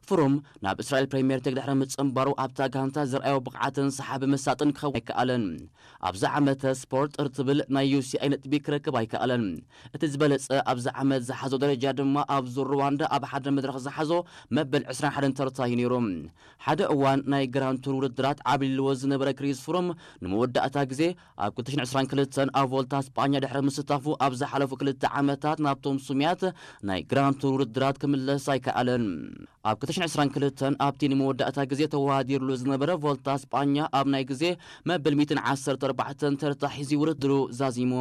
ፍሩም ናብ እስራኤል ፕሪምየር ሊግ ድሕሪ ምጽንባሩ ኣብታ ጋንታ ዝረኣዮ ብቕዓትን ሰሓቢ መሳጥን ክኸውን ኣይከኣለን። ኣብዚ ዓመተ ስፖርት ጥር ትብል ናይ ዩ ሲ ኣይ ነጥቢ ክረክብ ኣይከኣለን። እቲ ዝበለጸ ኣብዚ ዓመት ዝሓዞ ደረጃ ድማ ኣብ ዙር ሩዋንዳ ኣብ ሓደ መድረኽ ዝሓዞ መበል ዕስራን ሓደን ተርታ እዩ ነይሩ። ሓደ እዋን ናይ ግራንድ ቱር ውድድራት ዓብሊልዎ ዝነበረ ክሪስ ፍሩም ንመወዳእታ ግዜ ኣብ ክልተ ሽሕን ዕስራን ክልተን ኣብ ቮልታ ስጳኛ ድሕሪ ምስታፉ ኣብ ዝሓለፉ ክልተ ዓመታት ናብቶም ስሙያት ናይ ግራንድ ቱር ውድድራት ክምለስ ኣይከኣለን። ኣብ ክልተ ሽሕን ዕስራን ክልተን ኣብቲ ንመወዳእታ ግዜ ተወዳዲርሉ ዝነበረ ቮልታ ስጳኛ ኣብ ናይ ግዜ መበል ሚእትን ዓሰርተ ኣርባዕተን ተርታ ሒዙ ውድድሩ ዛዚሙ።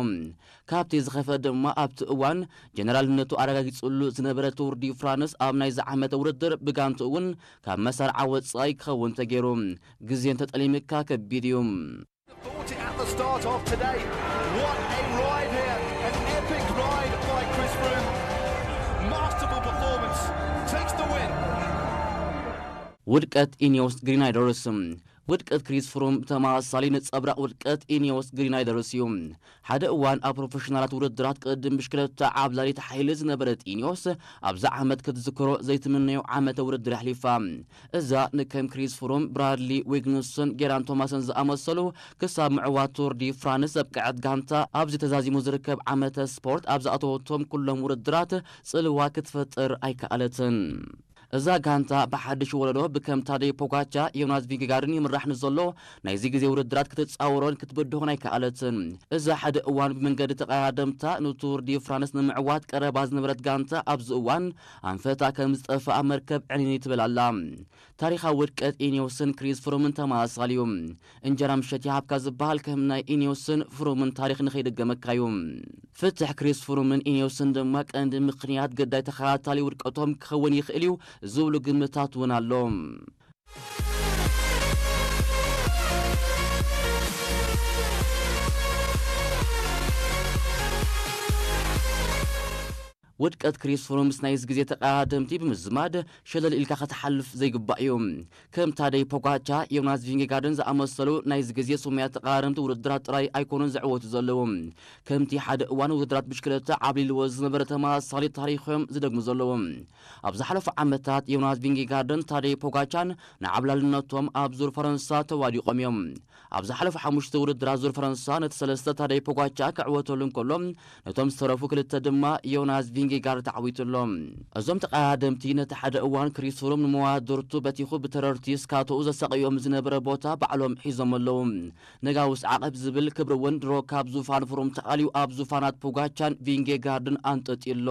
ካብቲ ዝኸፍአ ድማ ኣብቲ እዋን ጀነራልነቱ ኣረጋጊጽሉ ዝነበረ ቱር ዲ ፍራንስ ኣብ ናይዚ ዓመተ ውድድር ብጋንቱ እውን ካብ መሳርዓ ወጻኢ ክኸውን ተገይሩ። ግዜ እንተጠሊምካ ከቢድ እዩ። Thought it at the start of today. What a ride here. An epic ride by Chris Froome. Masterful performance. Takes the win. ውድቀት ኢኒዮስ ግሪናይደርስ። ውድቀት ክሪስ ፍሩም ተመሳሳሊ ነጸብራቕ ውድቀት ኢኒዮስ ግሪናይደርስ እዩ። ሓደ እዋን ኣብ ፕሮፌሽናላት ውድድራት ቅድም ብሽክለታ ዓብላሊት ሓይሊ ዝነበረት ኢኒዮስ ኣብዚ ዓመት ክትዝክሮ ዘይትምነዮ ዓመተ ውድድር ኣሕሊፋ። እዛ ንከም ክሪስ ፍሩም፣ ብራድሊ ዊግንስን ጌራን ቶማስን ዝኣመሰሉ ክሳብ ምዕዋት ቱር ዲ ፍራንስ ዘብቅዐት ጋንታ ኣብዚ ተዛዚሙ ዝርከብ ዓመተ ስፖርት ኣብ ዝኣተወቶም ኩሎም ውድድራት ጽልዋ ክትፈጥር ኣይከኣለትን። እዛ ጋንታ ብሓድሽ ወለዶ ብከም ታደይ ፖጋቻ፣ ዮናስ ቪንጌጋርድን ይምራሕ ንዘሎ ናይዚ ግዜ ውድድራት ክትጻወሮን ክትብድሆን ኣይከኣለትን። እዛ ሓደ እዋን ብመንገዲ ተቐዳደምታ ንቱር ዲ ፍራንስ ንምዕዋት ቀረባ ዝነበረት ጋንታ ኣብዚ እዋን ኣንፈታ ከም ዝጠፍኣ መርከብ ዕንይንይ ትብል ኣላ። ታሪኻዊ ውድቀት ኢኒዮስን ክሪስ ፍሩምን ተመሳሳሊ እዩ። እንጀራ ምሸት ይሃብካ ዝበሃል ከም ናይ ኢኒዮስን ፍሩምን ታሪኽ ንኸይድገመካ እዩ። ፍትሕ ክሪስ ፍሩምን ኢኒዮስን ድማ ቀንዲ ምኽንያት ገዳይ ተኸታታሊ ውድቀቶም ክኸውን ይኽእል እዩ ዝብሉ ግምታት እውን ኣሎ። ውድቀት ክሪስ ፍሩም ምስ ናይዚ ግዜ ተቐዳደምቲ ብምዝማድ ሸለል ኢልካ ክትሓልፍ ዘይግባእ እዩ። ከም ታደይ ፖጋቻ፣ ዮናስ ቪንጌጋርድን ዝኣመሰሉ ናይዚ ግዜ ስሙያት ተቐዳደምቲ ውድድራት ጥራይ ኣይኮኑን ዝዕወቱ ዘለዉ። ከምቲ ሓደ እዋን ውድድራት ብሽክለታ ዓብሊልዎ ዝነበረ ተመሳሳሊ ታሪኽ እዮም ዝደግሙ ዘለዉ። ኣብ ዝሓለፉ ዓመታት ዮናስ ቪንጌጋርድን ታደይ ፖጋቻን ንዓብላልነቶም ኣብ ዙር ፈረንሳ ተዋዲቖም እዮም። ኣብ ዝሓለፉ ሓሙሽተ ውድድራት ዙር ፈረንሳ ነቲ ሰለስተ ታደይ ፖጋቻ ክዕወተሉ እንከሎ፣ ነቶም ዝተረፉ ክልተ ድማ ዮናስ ቪንጌጋርድ ተዓዊቱ ኣሎ። እዞም ተቐዳደምቲ ነቲ ሓደ እዋን ክሪስ ፍሩም ንመዋድርቱ በቲኹ ብተረርቲ ስካቶኡ ዘሳቕዮም ዝነበረ ቦታ ባዕሎም ሒዞም ኣለዉ። ነጋውስ ዓቐብ ዝብል ክብሪ እውን ድሮ ካብ ዙፋን ፍሩም ተኣልዩ ኣብ ዙፋናት ፖጋቻን ቪንጌጋርድን ኣንጠጥዩ ኣሎ።